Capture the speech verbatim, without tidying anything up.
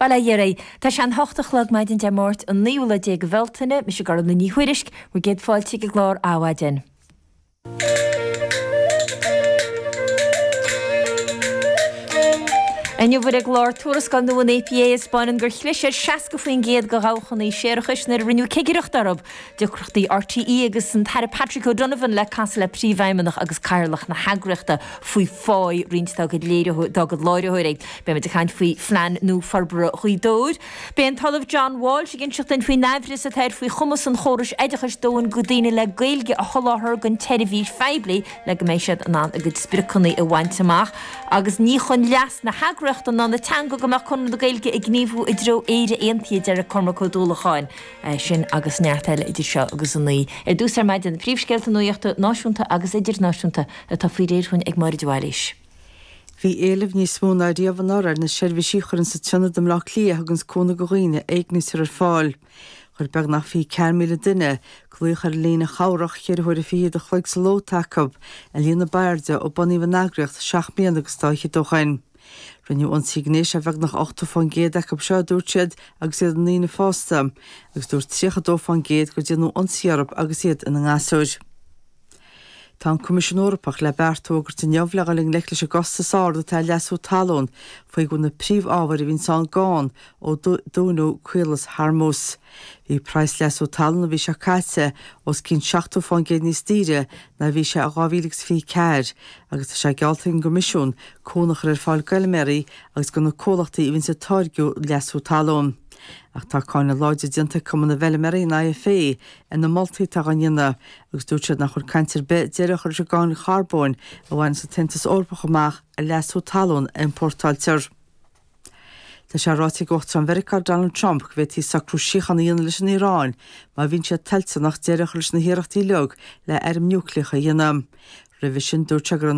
Bail ó Dhia oraibh. Tá sé an hocht a chlog maidin Dé Máirt an naoú lá déag de Bhealtaine, mise Gormfhlaith Ní Thuairisg, bhur gcéad fáilte ag an gclár Adhmhaidin. Inniu ar an gclár tuarascáil nua an APA a 'spáineann gur chlis ar seasca faoin gcéad de dhabhchanna séarachais nuair a rinneadh cigireacht orthu. Deacrachtaí RTÉ agus an tAire Patrick O'Donovan le casadh le Príomhfheidhmeannach agus Cathaoirleach na heagraíochta faoi phá roinnt dá gcuid láithreoirí. Beimid ag caint faoi phlean nua forbartha Ghaoth Dobhair. Beidh an tOllamh John Walsh ag inseacht dúinn faoin aimhreas atá air faoi chumas an chórais oideachais dóthain de dhaoine le Gaeilge a sholáthar don tseirbhís phoiblí le go mbeidh siad in ann a gcuid spriocanna a bhaint amach agus ní chun leas na heagraíochta ná na teanga go mbeadh Conradh na Gaeilge ag gníomhú i dtreo Éire Aontaithe, a deir Cormac Ó Dúlacháin. Sin agus neart eile idir seo agus a naoi. Ar dtús ar maidin, na príomhscéalta nuachta náisiúnta agus idirnáisiúnta atá faoi réir chugainn ag Máire de Bhailís. Bhí éileamh níos mó ná riamh anuraidh ar na seirbhísí a chuireann an tIonad i mBleá Cliath a thuganns cúnamh do dhaoine a éignítear ar fáil. Chuir beagnach fiche ceathair míle duine glaoch ar an líne chabhrach cheithre huaire fichead a chloig sa ló atá acu, an líon a b'airde ó bunaíodh an eagraíocht seacht mbliana agus dá fhichead ó shoin. Rinneadh ionsaí gnéis ar bheagnach ochtó fán gcéad acu seo, a dúirt siad, agus iad ina ndaoine fásta, agus dúirt tríocha dó fán gcéad gur déanadh ionsaí orthu agus iad ina ngasúir. Tá an Coimisiún Eorpach le beart a fhógairt inniu le dhul i ngleic leis an gcostas ard atá ar leasú talún faoi go bhfuil na príomh-ábhair a bhíonns ann gann ó dúnadh Caolas Hormuz. Bhí praghas leasú talún an mhí seo caite os cionn seachtó fán gcéad níos daoire ná a bhí sé i dhá mhíle agus fiche ceathair agus tá sé geallta ag an gCoimisiún cúnamh a chur ar fáil d'fheilméaraí agus do na comhlachtaí a bhíonns ag táirgiú leasú talún. Ach tá cáineadh láidir déanta ag Cumann na bhFeilméaraí, an IFA, ar na moltaí atá á ndéanamh agus dúirt siad nach bhfuil caint ar bith deireadh a chur leis an gcáin charbóin a bhaineanns an tAontas Eorpach amach ar leasú talún a iompórtáiltear. Tá sé ráite ag Uachtarán Mheiriceá Donald Trump go bhféadfaí socrú síochána a dhéanamh leis an Iaráin má bhíonn siad toilteanach deireadh a chur leis na hiarrachtaí uilig le airm núicléacha a dhéanamh. Roimhe sin dúirt sé go raibh